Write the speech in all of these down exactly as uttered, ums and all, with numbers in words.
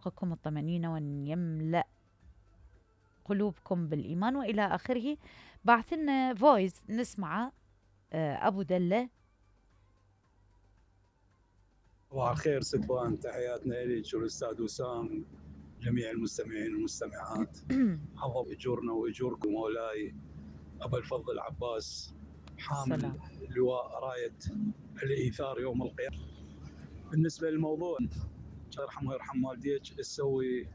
يرزقكم الطمأنينة وأن يملأ قلوبكم بالإيمان وإلى آخره. بعث لنا فويس نسمعه. أبو دلة. صباح الخير ستوان، تحياتنا لك والأستاذ وسام، جميع المستمعين والمستمعات. حفظ أجورنا وأجوركم مولاي أبا الفضل عباس، حامل لواء راية الإيثار يوم القيامة. بالنسبة للموضوع، الله يرحمه ويرحم والديك، تسوي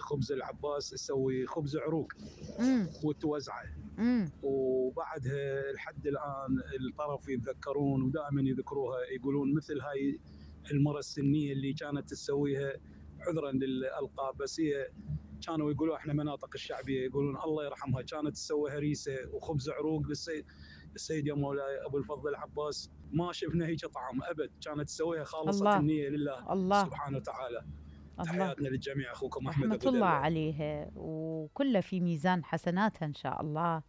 خبز العباس، تسوي خبز عروق وتوزعه، وبعدها لحد الآن الطرف يتذكرون ودائما يذكروها، يقولون مثل هاي المرة السنية اللي كانت تسويها، عذرا للألقاب بس هي كانوا يقولوا احنا مناطق الشعبية، يقولون الله يرحمها كانت تسوي هريسة وخبز عروق للسيد السيد يا مولاي أبو الفضل العباس. ما شفنا هيك طعام أبد، كانت تسويها خالصة الله. النية لله الله. سبحانه وتعالى. تحياتنا للجميع، أخوكم أحمد أبو رحمة الله عليها وكله في ميزان حسناتها إن شاء الله.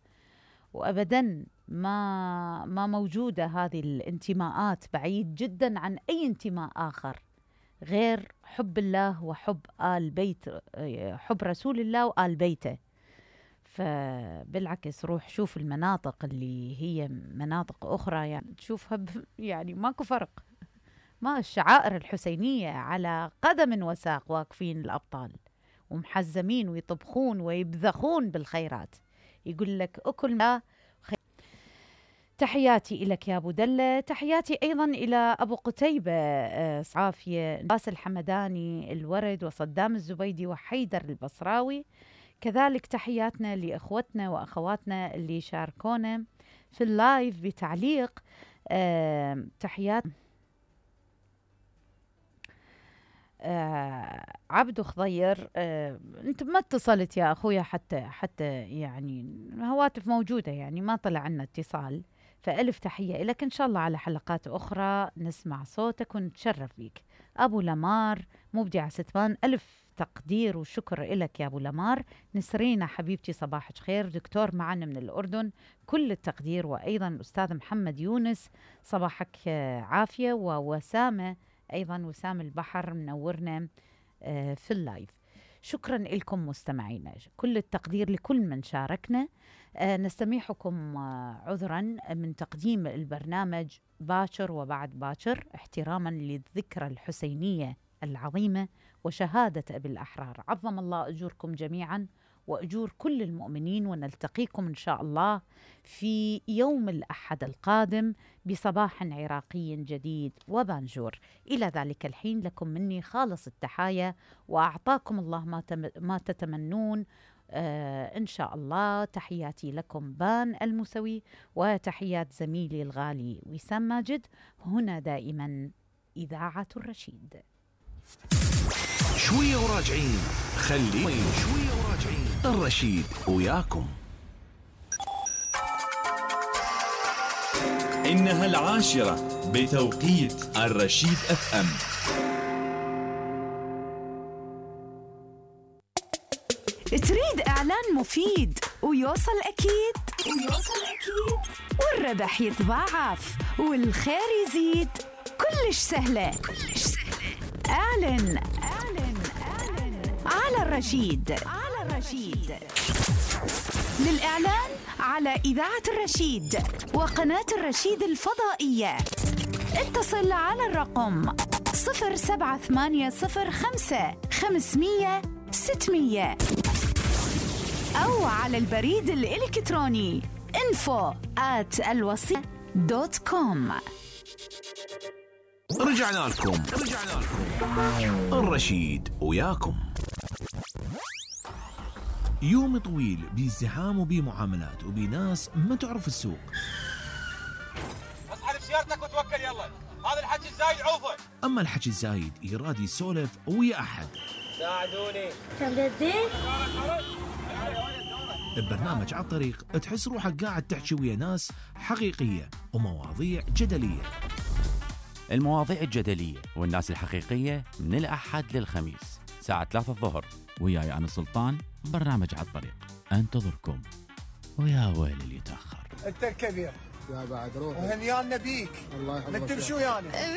وأبدا ما ما موجودة هذه الانتماءات، بعيد جدا عن أي انتماء آخر غير حب الله وحب آل بيت، حب رسول الله وآل بيته. فبالعكس روح شوف المناطق اللي هي مناطق أخرى يعني تشوفها يعني ماكو فرق. ما الشعائر الحسينية على قدم وساق واقفين الأبطال ومحزمين ويطبخون ويبذخون بالخيرات. يقول لك أكل ما خير. تحياتي إلك يا أبو دلة. تحياتي أيضا إلى أبو قتيبة صعافية، باس الحمداني، الورد، وصدام الزبيدي، وحيدر البصراوي. كذلك تحياتنا لإخوتنا وأخواتنا اللي شاركونا في اللايف بتعليق. أه تحيات آه عبدو خضير. آه انت ما اتصلت يا اخويا حتى حتى يعني هواتف موجودة يعني ما طلع عنا اتصال، فألف تحية لك. ان شاء الله على حلقات اخرى نسمع صوتك ونتشرف بيك. ابو لمار مبدع ستوان، الف تقدير وشكر لك يا ابو لمار. نسرينا حبيبتي صباحك خير، دكتور معنا من الاردن، كل التقدير. وايضا الاستاذ محمد يونس صباحك عافية. ووسامة أيضا، وسام البحر منورنا في اللايف. شكرا لكم مستمعينا، كل التقدير لكل من شاركنا. نستميحكم عذرا من تقديم البرنامج باكر وبعد باكر احتراما للذكرى الحسينية العظيمة وشهادة أبي الأحرار. عظم الله أجوركم جميعا وأجور كل المؤمنين، ونلتقيكم إن شاء الله في يوم الأحد القادم بصباح عراقي جديد وبانجور. إلى ذلك الحين لكم مني خالص التحايا، وأعطاكم الله ما, تم ما تتمنون آه إن شاء الله. تحياتي لكم بان المسوي، وتحيات زميلي الغالي وسام ماجد. هنا دائما إذاعة الرشيد. شوية وراجعين، خلي شوية وراجعين، الرشيد وياكم. إنها العاشرة بتوقيت الرشيد اف ام. تريد إعلان مفيد ويوصل أكيد ويوصل أكيد والربح يتضاعف والخير يزيد؟ كلش سهلة كلش سهلة. اعلن اعلن اعلن على الرشيد على الرشيد. للإعلان على إذاعة الرشيد وقناة الرشيد الفضائية اتصل على الرقم صفر سبعة ثمانية صفر خمسة خمسمية ستمية أو على البريد الإلكتروني info at الوصية دوت كوم. رجعنا لكم رجعنا لكم الرشيد وياكم. يوم طويل بازدحام وبمعاملات وبناس ما تعرف السوق. اسحب سيارتك وتوكل يلا، هذا الحكي الزايد عوفه. اما الحكي الزايد يراد يسولف ويا احد. ساعدوني. تمددين؟ ببرنامج على الطريق تحس روحك قاعد تحكي ويا ناس حقيقية ومواضيع جدلية. المواضيع الجدلية والناس الحقيقية من الأحد للخميس ساعة ثلاثة الظهر، وياي أنا سلطان. برنامج على الطريق انتظركم، ويا ويل اللي يتأخر. انت الكبير يا بعد روح وهنيان نبيك. الله يحفظك. نكتب شو يعني؟